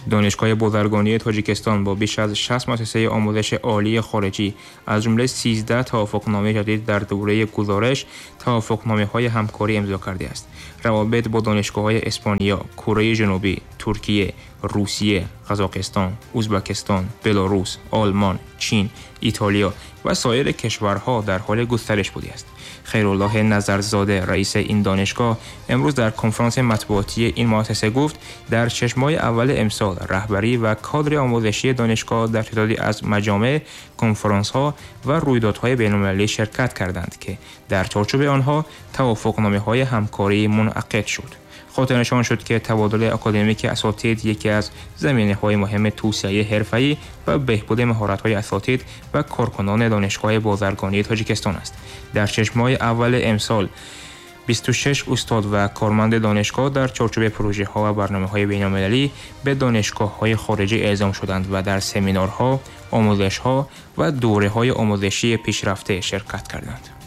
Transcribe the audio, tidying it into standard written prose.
Донишгоҳи бозаргонии Тоҷикистон бо беш аз 60 муассисаи омӯзиши олии хориҷӣ, аз ҷумла 13 тавофуқномаи ҷадид дар давраи гузориш тавофуқномаҳои ҳамкорӣ имзо кардааст. Равобит бо донишгоҳҳои Испания, Кореяи Ҷанубӣ, Туркия, Русия, Қазоқистон, Ӯзбекистон, Беларус, Олмон, Чин, Италия ва соири кишварҳо дар ҳоли густариш будааст. Хайруллоҳ Назарзода, раиси ин донишгоҳ, имрӯз дар конфронси матбуотии ин муассиса гуфт, дар 6 моҳи аввали имсол раҳбарӣ ва кадри омӯзишии донишгоҳ дар теъдоде аз маҷомеъ, конфронсҳо ва рӯйдодҳои байналмилалӣ ширкат карданд, ки дар чорчӯби онҳо тавофуқномаҳои ҳамкорӣ мунъақид шуд. Хотирнишон шуд, ки табодули академики асотид яке аз заминаҳои муҳими тавсеаи ҳирфаӣ ва беҳбуди маҳоратҳои асотид ва коркунони Донишгоҳи бозаргонии Тоҷикистон аст. Дар 6 моҳи аввали имсол 26 устод ва корманди донишгоҳ дар чорчӯби прожеҳо ва барномаҳои байналмилалӣ ба донишгоҳҳои хориҷӣ эъзом шуданд ва дар семинарҳо, омӯзишҳо ва давраҳои омӯзишии пешрафта ширкат карданд.